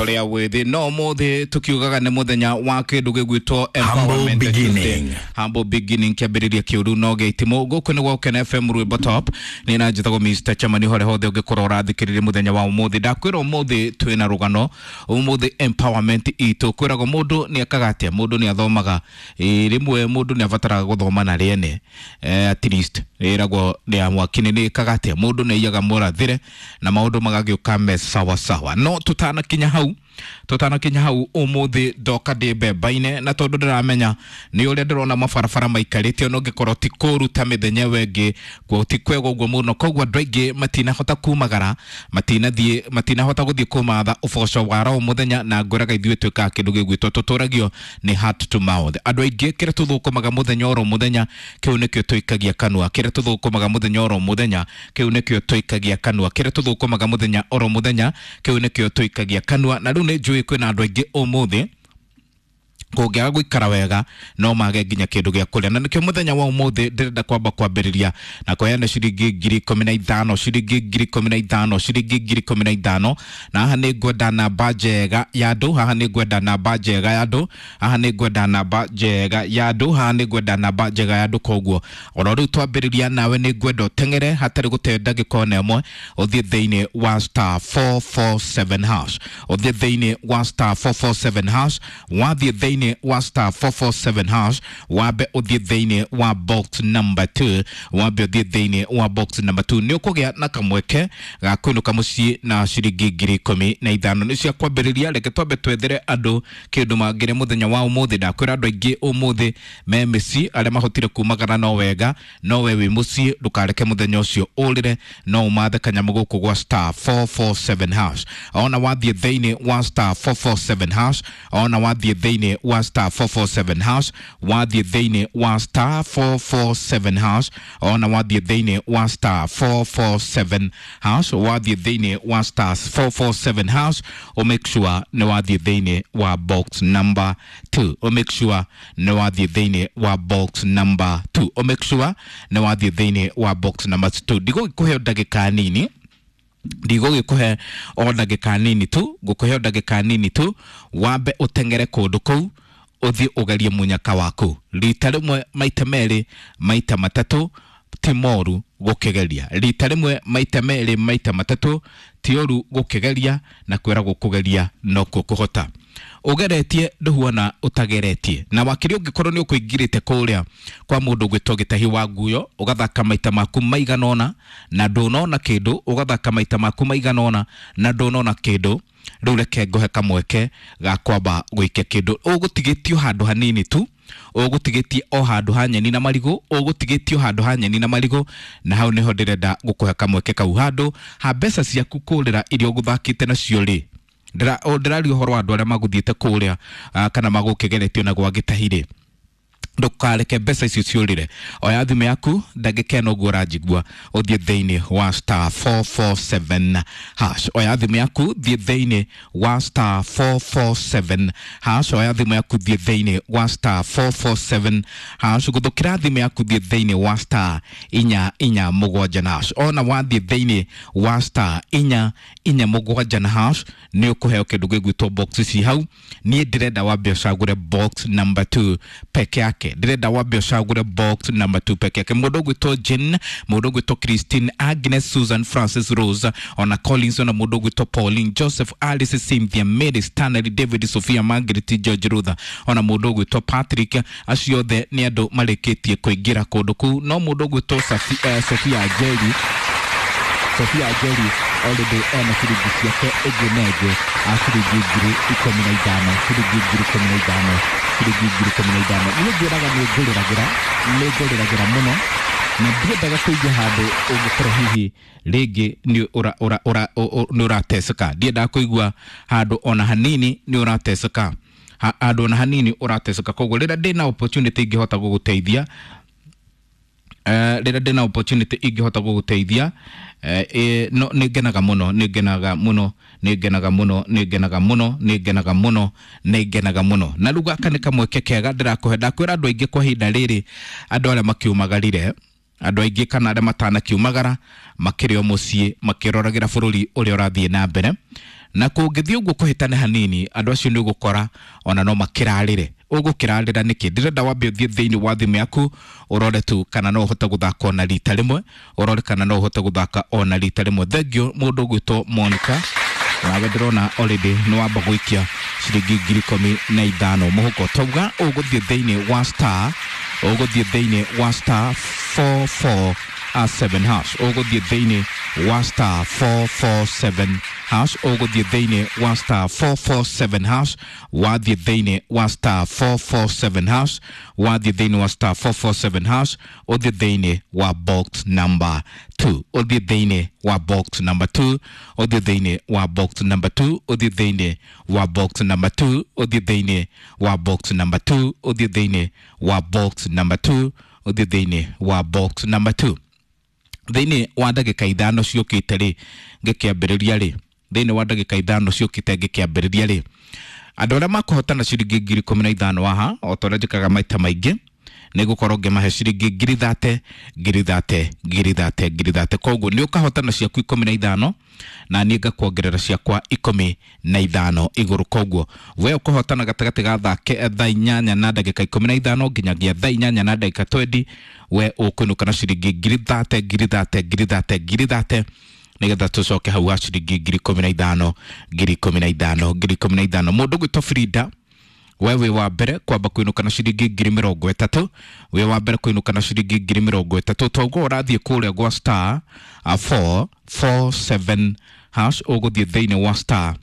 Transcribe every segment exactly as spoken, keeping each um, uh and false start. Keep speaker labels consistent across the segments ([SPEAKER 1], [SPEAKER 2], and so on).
[SPEAKER 1] Tũrĩ wĩthĩ no ũmũthĩ tũkiugaga nĩ mũthenya wa kĩndũ gĩgwĩtwo
[SPEAKER 2] Humble
[SPEAKER 1] Empowerment
[SPEAKER 2] beginning.
[SPEAKER 1] Tuesday. Humble beginning, kĩambĩrĩria kĩũru no gĩitimũ. Gũkũ nĩ gwa F M Rwĩmbo Top, nĩ na njĩtagwo Mister Chamani. Hore hothe ũngĩkorwo ũrathikĩrĩria mũthenya wa ũmũthĩ, ndakwĩra ũmũthĩ twĩna rũgano, ũmũthĩ empowerment itũ kwĩragwo mũndũ nĩ ekaga atĩa, mũndũ nĩ athomaga. Ĩ, rĩmwe mũndũ nĩ abataraga gũthoma na rĩene, eh, at least ĩragwo nĩ ya mwaki nĩ ĩkaga atĩa, mũndũ nĩ aiyaga mũrathĩre na maũndũ magagĩũka me sawa sawa. No tũtanakinya hau tũtanakinya hau ũmũthĩ ndoka ndĩ mbemba-inĩ, na tondũ ndĩramenya nĩ ũrĩa ndĩrona mabarabara maikarĩte, ona ũngĩkorwo ti kũru ta mĩthenya ĩyo ĩngĩ, kuo ti kwega ũguo mũno, koguo andũ aingĩ matinahota kumagara, matinathiĩ, matinahota gũthiĩ kũmatha ũboco wa ro mũthenya. Na ngwĩraga ithuĩ twĩkaga kĩndũ gĩgwĩtwo tũtũragio nĩ heart to mouth. Andũ aingĩ kĩrĩa tũthũkũmaga mũthenya oro mũthenya, kĩu nĩkĩo tũikagia kanua. Kĩrĩa tũthũkũmaga mũthenya oro mũthenya, kĩu nĩkĩo tũikagia kanua. Kĩrĩa tũthũkũmaga mũthenya oro mũthenya, kĩu nĩkĩo tũikagia kanua. Na rĩu nĩ njũĩ kwĩna andũ aingĩ ũmũthĩ kũngĩaga gũikara wega no mage nginya kĩndũ gĩa kũrĩa, na nĩkĩo mũthenya wa ũmũthĩ ndĩrenda kwamba kwambĩrĩria na kũheana ciringi ngiri ikũmi na ithano, ciringi ngiri ikũmi na ithano, ciringi ngiri ikũmi na ithano. Na haha nĩ ngwenda namba njega ya andũ, haha nĩ ngwenda namba njega ya andũ, haha nĩ ngwenda namba njega ya andũ, haha nĩ ngwenda namba njega ya andũ. Koguo oro rĩu twambĩrĩria nawe nĩ ngwenda ũteng'ere hatarĩ gũte ndagĩka ona ĩmwe, ũthiĩ thĩinĩ wa star four four seven hash, ũthiĩ thĩinĩ wa star four four seven hash. Wathiĩ thĩinĩ wa star four four seven hash, wambe ũthiĩ thĩinĩ wa box number two, wambe ũthiĩ thĩinĩ wa box number two, nĩ ũkũgĩa na kamweke ga kũinũka mũciĩ na ciringi ngiri ikũmi na ithano. Nĩ cia kwambĩrĩria. Reke twambe twethere andũ kĩndũ mangĩrĩa mũthenya wa ũmũthĩ. Ndakwĩra andũ aingĩ ũmũthĩ me mĩciĩ, arĩa mahotire kumagara no wega, no we wĩ mũciĩ ndũkareke mũthenya ũcio ũrĩre, no ũmathe kanyamũ gũkũ gwa star four four seven hash. Ona wathiĩ thĩinĩ wa star four four seven hash, ona wathiĩ thĩinĩ wa star four four seven hash, wathiĩ thĩinĩ wa star four four seven hash, ona wathiĩ thĩinĩ wa star four four seven hash, wathiĩ thĩinĩ wa star four four seven hash, o make sure nĩ wathiĩ thĩinĩ wa box number two, o make sure nĩ wathiĩ thĩinĩ wa box number two, o make sure nĩ wathiĩ thĩinĩ wa box number two. Ndigũgĩkũhe ndagĩka nini, ndigũgĩkũhe o ndagĩka nini tu, ngũkũhe o ndagĩka nini tu wambe ũteng'ere kũndũ kũu, ũthiĩ ũgerie mũnyaka waku rita rĩmwe, maita merĩ, maita matatũ. Ti moru gũkĩgeria rita rĩmwe, maita merĩ, maita matatũ, ti ũru gũkĩgeria, na kwĩragwo kũgeria nokuo kũhota. Ũgeretie ndũhuana ũtageretie, na wakĩria ũngĩkorwo nĩ ũkũingirĩte kũrĩa kwa mũndũ ũgwĩtwo Gĩtahi wa Nguyo, ũgathaka maita maku maigana ũna na ndũnona kĩndũ, ũgathaka maita maku maigana ũna na ndũnona kĩndũ, rĩu reke ngũhe kamweke ga kwamba gũikia kĩndũ. Ũgũtigĩtio handũ hanini tu, ũgũtigĩtie o handũ ha nyeni na marigũ, ũgũtigĩtio handũ ha nyeni na marigũ, na hau nĩho ndĩrenda gũkũhe kamweke kau, handũ ha mbeca ciaku kũrĩra iria ũgũthakĩte nacio rĩ. Ndĩra- o, ndĩraria ũhoro wa andũ arĩa magũthiĩte kũrĩa, ah, kana magũkĩgeretio na gwa Gĩtahi rĩ, ndũkareke mbeca icio ciũrĩre. Oya thimũ yaku ndagĩka ĩno ũguo ũranjigua, ũthiĩ thĩinĩ wa star four four seven hash. Oya thimũ yaku, thiĩ thĩinĩ wa star four four seven hash. Oya thimũ yaku, thiĩ thĩinĩ wa star four four seven hash. Gũthũkĩra thimũ yaku, thiĩ thĩinĩ wa star inya inya mũgwanja na hash. Ona wathiĩ thĩinĩ wa star inya inya mũgwanja na hash, nĩ ũkũheo kĩndũ gĩgwĩtwo box ici hau. Niĩ ndĩrenda wambe ũcagũre box number two peke yake, ndĩrenda wambe ũcagũre box number two peke yake. Mũndũ ũgwĩtwo Jane, mũndũ ũgwĩtwo Christine, Agnes, Susan, Francis, Rose, ona Collins, ona mũndũ ũgwĩtwo Pauline, Joseph, Alice, Cynthia, Mary, Stanley, David, Sophia, Margaret, George, Rutha, ona mũndũ ũgwĩtwo Patrick, acio othe nĩ andũ marĩkĩtie kũingĩra kũndũ kũu. No mũndũ ũgwĩtwo Safi- eh, Sophia Njeri, Sofia Njeri already ena ciringi ciake ĩngĩ na ĩngĩ a ciringi ngiri ikũmi na ithano, ciringi ngiri ikũmi na ithano, ciringi ngiri ikũmi na ithano. Niĩ ngwĩraga nĩ ngũrĩragĩra, nĩ ngũrĩragĩra mũno, na ndiendaga kũigua handũ ũngĩkorwo hihi rĩngĩ nĩ ũra ũra ũra ũ- ũ- nĩ ũrateseka. Ndiendaga kũigua handũ ona hanini nĩ ũrateseka, Ha- handũ ona hanini ũrateseka. Koguo rĩrĩa ndĩna opportunity ingĩhota gũgũteithia, eh, rĩrĩa ndĩna opportunity ingĩhota gũgũteithia, eh, eh, no nĩ ngenaga mũno, nĩ ngenaga mũno, nĩ ngenaga mũno, nĩ ngenaga mũno, nĩ ngenaga mũno, nĩ ngenaga mũno. Na rĩu gaka nĩ kamweke kega ndĩrakũhe. Ndakwĩra andũ aingĩ kwa ihinda rĩrĩ, andũ arĩa makiumagarire, andũ aingĩ kana arĩa matanakiumagara, makĩrĩ o mũciĩ makĩroragĩra bũrũri ũrĩa ũrathiĩ na mbere. Na kũngĩthiĩ ũguo kũhĩtane hanini, andũ acio nĩ ũgũkora ona no makĩrarĩre. Ũgũkĩrarĩra nĩkĩ? Ndĩrenda wambe ũthiĩ thĩinĩ wa thimũ yaku ũrore tu kana no ũhote gũthaka ona rita rĩmwe, ũrore kana no ũhote gũthaka ona rita rĩmwe. Thengiũ mũndũ ũgwĩtwo Monica, nawe ndĩrona already nĩ wamba gũikia ciringi ngiri ikũmi na ithano mũhuko. Tauga ũgũthiĩ thĩinĩ wa star, ũgũthiĩ thĩinĩ wa star four four seven hash, ũgũthiĩ thĩinĩ wa star four four seven hash, ũgũthiĩ thĩinĩ wa star four four seven hash, wathiĩ thĩinĩ wa star four four seven hash, wathiĩ thĩinĩ wa star four four seven hash, ũthiĩ thĩinĩ wa box number two, ũthiĩ thĩinĩ wa box number two, ũthiĩ thĩinĩ wa box number two, ũthiĩ thĩinĩ wa box number two, ũthiĩ thĩinĩ wa box number two, ũthiĩ thĩinĩ wa box number two, ũthiĩ thĩinĩ wa box number two. Thĩinĩ wa ndagĩka ithano ciũkĩte rĩ, ngĩkĩambĩrĩria rĩ, thĩinĩ wa ndagĩka ithano ciũkĩte ngĩkĩambĩrĩria rĩ, andũ arĩa makũhotana ciringi ngiri ikũmi na ithano haha, o ta ũrĩa njĩkaga maita maingĩ, nĩ gũkorwo ngĩmahe ciringi ngiri thate, ngiri thate, ngiri thate, ngiri thate. Koguo nĩ ũkahotana ciaku ikũmi na ithano, na niĩ ngakuongerera ciakwa ikũmi na ithano igũrũ. Koguo we ũkũhotana gatagatĩ ga thaa ke- thaa inyanya na ndagĩka ikũmi na ithano nginyagia thaa inyanya na ndagĩka twendi, we ũkũinũka na ciringi ngiri thate, ngiri thate, ngiri thate, ngiri thate, nĩgetha tũcoke hau ha ciringi ngiri ikũmi na ithano, ngiri ikũmi na ithano, ngiri ikũmi na ithano. Mũndũ ũgwĩtwo Frida, we wĩ wa mbere kwamba kũinũka na ciringi ngiri mĩrongo ĩtatũ, wĩ wa mbere kũinũka na ciringi ngiri mĩrongo ĩtatũ. Toguo ũrathiĩ kũrĩa gwa star four four seven hash, ũgũthiĩ thĩinĩ wa star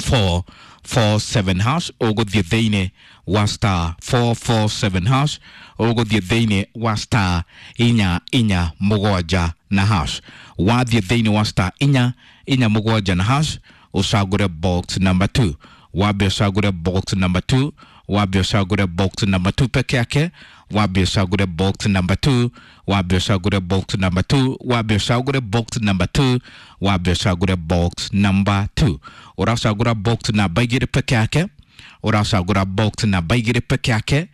[SPEAKER 1] four four seven hash, ũgũthiĩ thĩinĩ wa star four four seven hash, ũgũthiĩ thĩinĩ wa star inya inya mũgwanja na hash. Wathiĩ thĩinĩ wa star inya inya mũgwanja na hash, ũcagũre box number two, wambe ũcagũre box number two, wambe ũcagũre box number two peke yake, wambe ũcagũre box number two, wambe ũcagũre box number two, wambe ũcagũre box number two, wambe ũcagũre box number two. Ũracagũra box namba igĩrĩ peke yake, ũracagũra box namba igĩrĩ peke yake,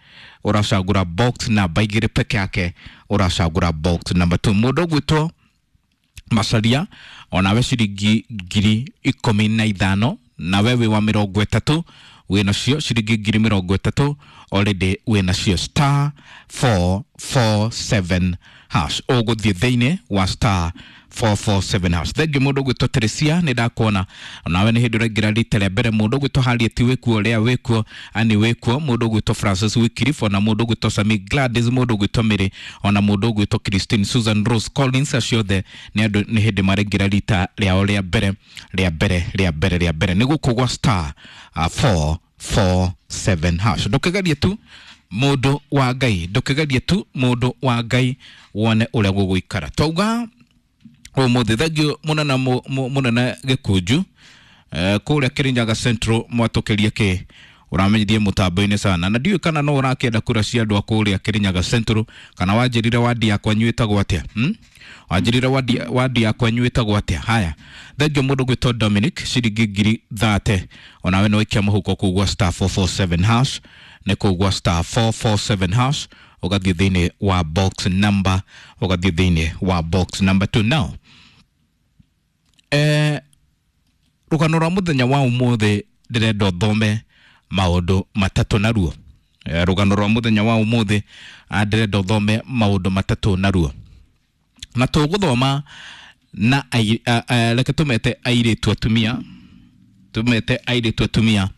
[SPEAKER 1] ũracagũra box namba igĩrĩ peke yake, ũracagũra box number two. Mũndũ ũgwĩtwo Macaria, onawe ciringi ngiri ikũmi na ithano, nawe wĩ wa mĩrongo ĩtatũ, wĩ nacio ciringi ngiri mĩrongo ĩtatũ already wĩ nacio star four four seven hash. Ũgũthiĩ thĩinĩ wa star four four seven hash. Thengiũ mũndũ ũgwĩtwo Teresia, nĩ ndakuona nawe nĩ hĩndĩ ũraingĩra rita rĩa mbere. Mũndũ ũgwĩtwo Harriet wĩkuo, Lea wĩkuo, Annie wĩkuo, mũndũ ũgwĩtwo Francis Wycliffe, ona mũndũ ũgwĩtwo Sami Gladys, mũndũ ũgwĩtwo Mary, ona mũndũ ũgwĩtwo Christine Susan Rose Collins, acio othe nĩ andũ nĩ hĩndĩ maraingĩra rita rĩao rĩa mbere, rĩa mbere, rĩa mbere, rĩa mbere. Nĩ gũkũ gwa star four four seven hash. Ndũkĩgerie tu mũndũ wa Ngai, ndũkĩgerie tu mũndũ wa Ngai wone ũrĩa gũgũikara. Twauga ũmũthĩ thengiũ mũnene mũnene Gĩkunju kũrĩa Kirinyaga Central, mwatũkĩrie kĩ ũramenyithie mũtambo-inĩ sana, na ndiũĩ kana no ũrakĩenda kura cia andũ a kũrĩa Kirinyaga Central, kana wanjĩrire wadi ya kwanyu ĩtagwo atĩa? Hmm? Wanjĩrire wadi, wadi ya kwanyu ĩtagwo atĩa? Haya, thengiũ mũndũ gwĩtwo Dominic, ciringi ngiri thate, onawe no ikia mũhuko kũu gwa star four four seven hash, nĩ kũu gwa star four four seven hash, ũgathiĩ thĩinĩ wa box number, ũgathiĩ thĩinĩ wa box number two. Now eh, rũgano rwa mũthenya wa ũmũthĩ ndĩrenda ũthome maũndũ matatũ naruo. Eh, rũgano rwa mũthenya wa ũmũthĩ ndĩrenda ũthome maũndũ matatũ naruo, na tũgũthoma na reke tũmete airĩtu atumia, tũmete airĩtu atumia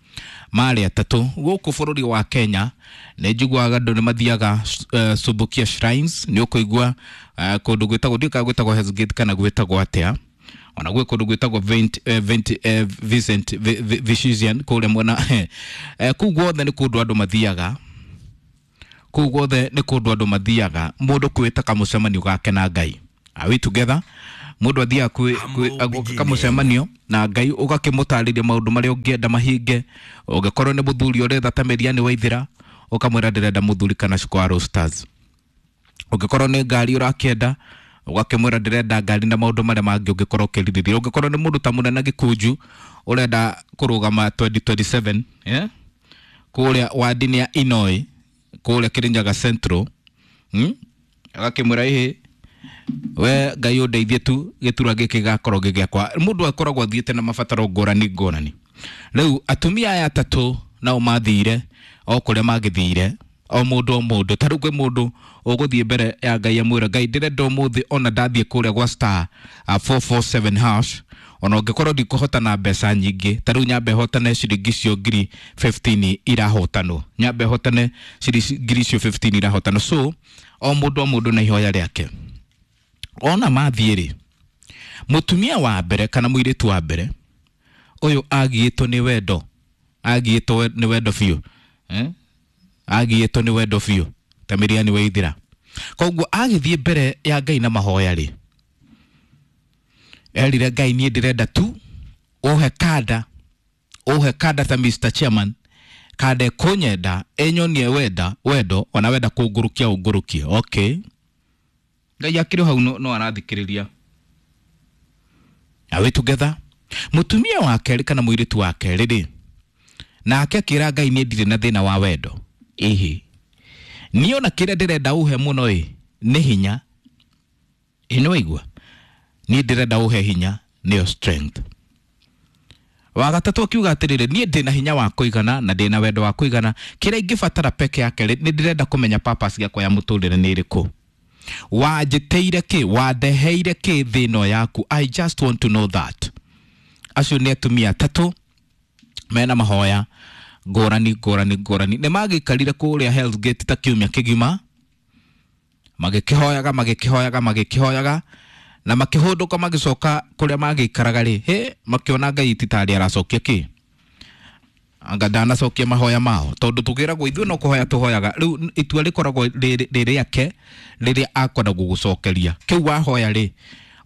[SPEAKER 1] marĩ atatũ gũkũ bũrũri wa Kenya. Nĩ njiguaga andũ nĩ mathiaga uh, Subukia Shrines, nĩ ũkũigua uh, kũndũ gwĩtagwo, ndiũĩ kana gwĩtagwo Hell's Gate kana gwĩtagwo atĩa, ona gwĩ kũndũ gwĩtagwo Vint, uh, Vint, uh, Vincent Vician kũrĩa mwena uh, kũu guothe nĩ kũndũ andũ mathiaga, kũu guothe nĩ kũndũ andũ mathiaga mũndũ kwĩta kamũcemanio gake na Ngai. Are we together? Mũndũ athiaga kwĩ kamũcemanio na Ngai, ũgakĩmũtarĩria maũndũ marĩa ũngĩenda mahinge. Ũngĩkorwo nĩ mũthuri ũretha ta Meriani Waithĩra, ũkamwĩra ndĩrenda mũthuri kana Shikwa Roasters. Ũngĩkorwo nĩ ngari ũrakĩenda, ũgakĩmwĩra ndĩrenda ngari na maũndũ marĩa mangĩ ũngĩkorwo ũkĩrirĩria. Ũngĩkorwo nĩ mũndũ ta mũnene Gĩkunju ũrenda kũrũgama twenty twenty-seven, yeah? Kũrĩa wadi-inĩ ya Inoi kũrĩa Kirinyaga Central, hmm? Agakĩmwĩra ĩhĩ We Ngai ũndeithie tu gĩturwa gĩkĩ gĩgakorwo gĩ gĩakwa. Mũndũ akoragwo athiĩte na mabataro ngũrani ngũrani. Rĩu atumia aya atatũ nao mathire o kũrĩa magĩthire, o mũndũ o mũndũ. Ta rĩu kwĩ mũndũ ũgũthiĩ mbere ya Ngai amwĩre, Ngai ndĩrenda ũmũthĩ ona ndathiĩ kũrĩa gwa star uh, four four seven hash, ona ũngĩkorwo ndikũhotana mbeca nyingĩ, ta rĩu nyambe hotane ciringi icio ngiri fifteen irahotanwo, nyambe hotane ciringi icio fifteen irahotanwo. So o mũndũ o mũndũ na ihoya rĩake. Ona mathiĩ rĩ, mũtumia wa mbere kana mũirĩtu wa mbere ũyũ agiĩtwo nĩ wendo, agiĩtwo nĩ wendo biũ, eh? Agiĩtwo nĩ wendo biũ ta Miriam Waithira. Koguo agĩthiĩ mbere ya Ngai na mahoya rĩ, erire Ngai niĩ ndĩrenda tu ũhe kanda, ũhe kanda ta Mister Chairman, kanda ĩkũnyenda ĩnyonie wenda wendo, ona wenda kũngũrũkia ũngũrũkie. Okay, Ngai akĩrĩ hau no, no arathikĩrĩria. Are we together? Mũtumia wa kerĩ kana mũirĩtu wa kerĩ rĩ, nake akĩra Ngai niĩ ndirĩ na thĩna wa wendo. Ĩhĩ, niĩ ona kĩrĩa ndĩrenda ũhe mũno ĩ nĩ hinya. Ĩ nĩ waigua? Niĩ ndĩrenda ũhe hinya, nĩyo strength. Wa gatatũ akiuga atĩrĩrĩ, niĩ ndĩna hinya wa kũigana na ndĩna wendo wa kũigana, kĩrĩa ingĩbatara peke yake rĩ, nĩ ndĩrenda kũmenya purpose yakwa ya mũtũrĩre nĩ ĩrĩkũ. Wanjĩtĩire kĩ, wandeheire kĩ thĩ ĩno yaku? I just want to know that. Acio nĩ atumia atatũ mena mahoya ngũrani ngũrani ngũrani. Nĩ magĩikarire kũrĩa Hell's Gate ta kiumia kĩgima, magĩkĩhoyaga magĩkĩhoyaga magĩkĩhoyaga, na makĩhũndũka magĩcoka kũrĩa magĩikaraga rĩ, hĩ, makĩona Ngai ti tarĩ aracokia kĩ, anga ndanacokia mahoya mao, tondũ tũkĩragwo ithuĩ no kũhoya tũhoyaga. Rĩu itua rĩkoragwo rĩ rĩake rĩrĩa akwenda gũgũcokeria kĩu wahoya rĩ,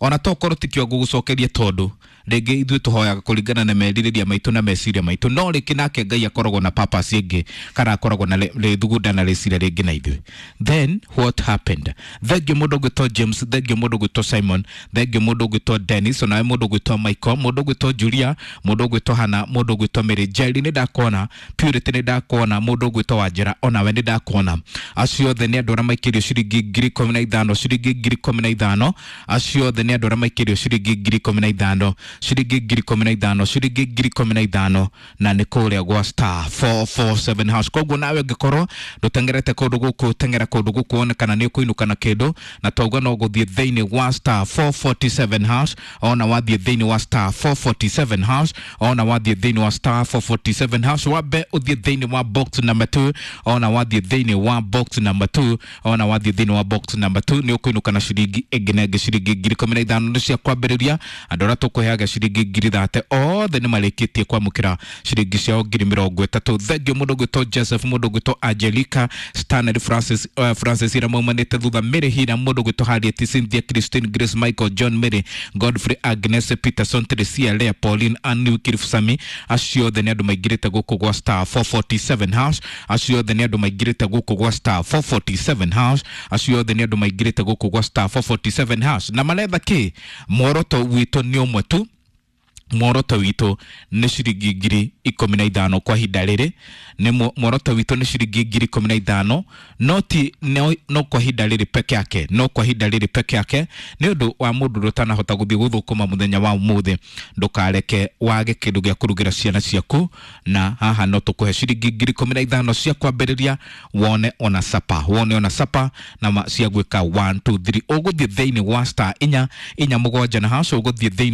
[SPEAKER 1] ona tokorwo tikĩo gũgũcokeria, tondũ rĩngĩ ithuĩ tũhoyaga kũringana na merirĩria maitũ na meciria maitũ, no rĩngĩ nake Ngai akoragwo na purpose ĩngĩ, kana akoragwo na rĩthugunda na rĩciria rĩngĩ na ithuĩ. Then what happened? Thengiũ mũndũ ũgwĩtwo James, thengiũ mũndũ ũgwĩtwo Simon, thengiũ mũndũ ũgwĩtwo Dennis, onawe mũndũ ũgwĩtwo Michael, mũndũ ũgwĩtwo Julia, mũndũ ũgwĩtwo Hannah, mũndũ ũgwĩtwo Mary, Jerry nĩ ndakuona, Purity nĩ ndakuona, mũndũ ũgwĩtwo Wanjĩra onawe nĩ ndakuona. Acio othe nĩ andũ arĩa maikĩrio ciringi ngiri ikũmi na ithano, ciringi ngiri ikũmi na ithano. Acio othe nĩ andũ arĩa maikĩrio ciringi ngiri ikũmi na ithano, ciringi ngiri ikũmi na ithano, ciringi ngiri ikũmi na ithano, na nĩ kũrĩa gwa star four four seven hash. Koguo nawe ũngĩkorwo ndũteng'erete kũndũ gũkũ, teng'era kũndũ gũkũ wone kana nĩ ũkũinũka na kĩndũ, na twauga no gũthiĩ thĩinĩ wa star four forty-seven hash, ona wathiĩ thĩinĩ wa star four forty-seven hash, ona wathiĩ thĩinĩ wa star four forty-seven hash, wambe ũthiĩ thĩinĩ wa box number two, ona wathiĩ thĩinĩ wa box number two, ona wathiĩ thĩinĩ wa box number two, nĩ ũkũinũka na ciringi ĩngĩ na ĩngĩ, ciringi ngiri ikũmi na ithano nĩ cia kwambĩrĩria. Andũ arĩa tũkũheaga ciringi ngiri thate othe nĩ marĩkĩtie kwamũkĩra ciringi ciao ngiri mĩrongo ĩtatũ. Thengiũ mũndũ ũgwĩtwo Joseph, mũndũ ũgwĩtwo Angelica, Stanley Francis, uh, Francis ira maumanĩte thutha, Mary Hina, mũndũ ũgwĩtwo Harriet, Cynthia, Christine, Grace, Michael, John, Mary, Godfrey, Agnes, Peterson, Teresia, Lea, Pauline, Anne Kirifusami. Acio othe nĩ andũ maingĩrĩte gũkũ gwa star four forty-seven hash. Acio othe nĩ andũ maingĩrĩte gũkũ gwa star four forty-seven hash. Acio othe nĩ andũ maingĩrĩte gũkũ gwa star four forty-seven hash. Na maretha kĩ? Muoroto witũ nĩ ũmwe tu, muoroto witũ nĩ ciringi ngiri ikũmi na ithano kwa ihinda rĩrĩ, nĩ muoroto witũ nĩ ciringi ngiri ikũmi na ithano, no ti no, no kwa ihinda rĩrĩ peke yake, no kwa ihinda rĩrĩ peke yake, nĩ ũndũ wa mũndũ ũrĩa ũtanahota gũthiĩ gũthũkũma mũthenya wa ũmũthĩ. Ndũkareke wage kĩndũ gĩa kũrugĩra ciana ciaku, na haha no tũkũhe ciringi ngiri ikũmi na ithano cia kwambĩrĩria, wone ona sapa, wone ona sapa na cia gwĩka one two three. Ũgũthiĩ thĩinĩ wa star inya inya mũgwanja na hash, ũgũthiĩ thĩinĩ